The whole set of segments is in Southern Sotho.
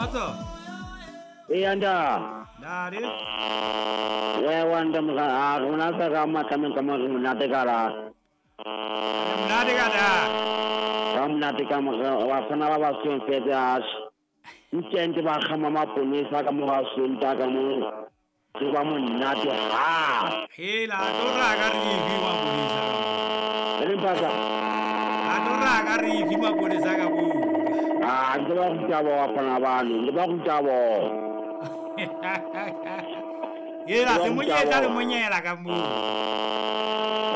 Kgotso. Eya nda. Ntate. Wewa nda moga a rona tsa ka matlameng ka mo re monate ka la. Re monate ka da. Ka monate ka mo bafana ba ba sweng fetse a ntente ba kgama maponesa ka mo ga Sonta ka mo re ba monate ha. Hela tlo ra ka re ifi maponesa ka mo. Re mpasa. A tlo ra ka re ifi maponesa ka mo. A ntse ba ruta bo bafana bano, ntse ba ruta bo. Hela se monyetla le monyela ka mo.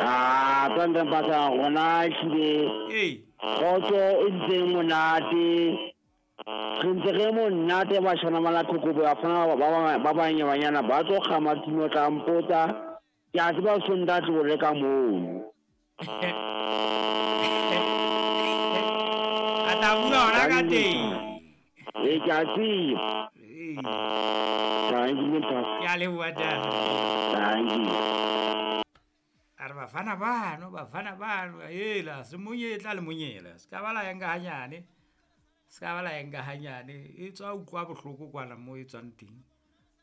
A tsantse mpasa rona ehlile. Ee. Kgotso e ntse monate. Re ntse re monate bashana ba la Qokobo bafana ba banyabanyana ba tlo kgama tino tla mpotsa. Ke a tseba Sonta tlo reka moo. A tla bua hona ka teng. Ee, ke a tseba. Ee. Thank you, Pastor. Ke a leboha ntate. Thank you. A re bafana bano, bafana bano, hela se monyetla le monyela. Se ka ba la enka hanyane. Se ka ba la enka hanyane. E tswa utlwa bohloko kwana mo e tswang teng.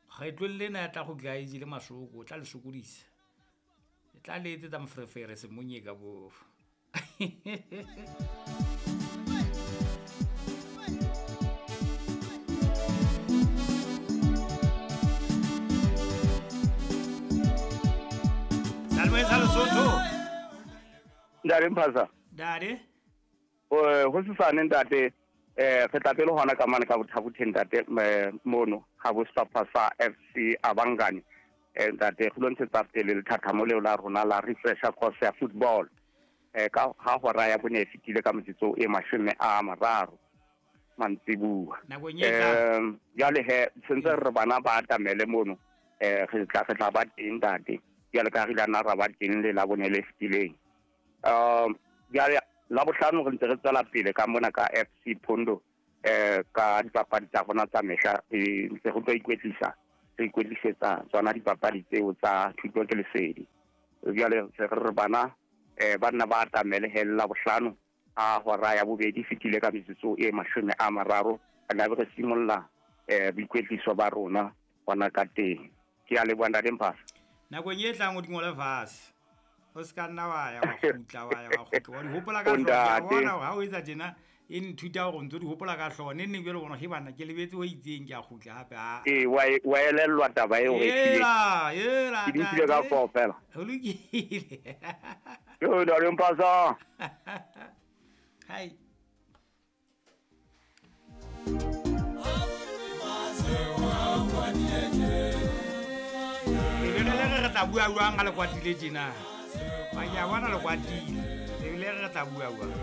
Kgetlong lena ya tla go tla e jele masoko, o tla le sokodisa. E tla le etsetsa moferefere semonye ka bo. Salve sa Lesotho. Ntate Mphasa. Ntate. Ho sesane ntate, re tla pele hona ka mane ka Bothabotheng ntate, mono ga bo sehlopha sa FC Abangani. Ntate re lo ntshetsa pele lethathamo leo la rona la refresher course ya football. Ka ha hora ya bone e fetile ka metsotso e 30 mantsibuwa. Nakong e tlang. Jwale he sentse re bana ba atamele mono, re tla ba teng ntate. Jwale ka re ile nna ra ba teng le la bone le fetileng. Jwale la bohlano re ntse re tswela pele ka mona ka FC Pondo, ka dipapadi tsa rona tsa mehla, re ntse re tlo ikwetlisa, re ikwetlisetsa tsona dipapadi tseo tsa thuto ke lesedi. Jwale se re bana ba nna ba atamele he la bohlano a hora ya bobedi fetile ka metsotso e 30, re tla be re simolla boikwetliso ba rona hona ka teng. Ke a leboha ntate Mphasa. Nakong e tlang o di ngole fatshe. O se ka nna wa ya wa kgutla, wa ya wa kgutla. Wa di hopola ka hlooho. Ke a bona hore ha o etsa tjena, e nthuta hore o ntso di hopola ka hlooho. Neng neng jwale bona, he bana, ke lebetse ho itseng, ke a kgutla hape. Ha. Ee, wa elellwa taba eo e tlile. Ela, ela, Ke di utlwile ka ntate. hlooho fela. Ho lokile. Yo, ntate Mphasa. Hai. Ebile le re tla bua jwang ha le kwatile tjena? Ba ke a bona le kwatile. Ebile re tla bua jwang?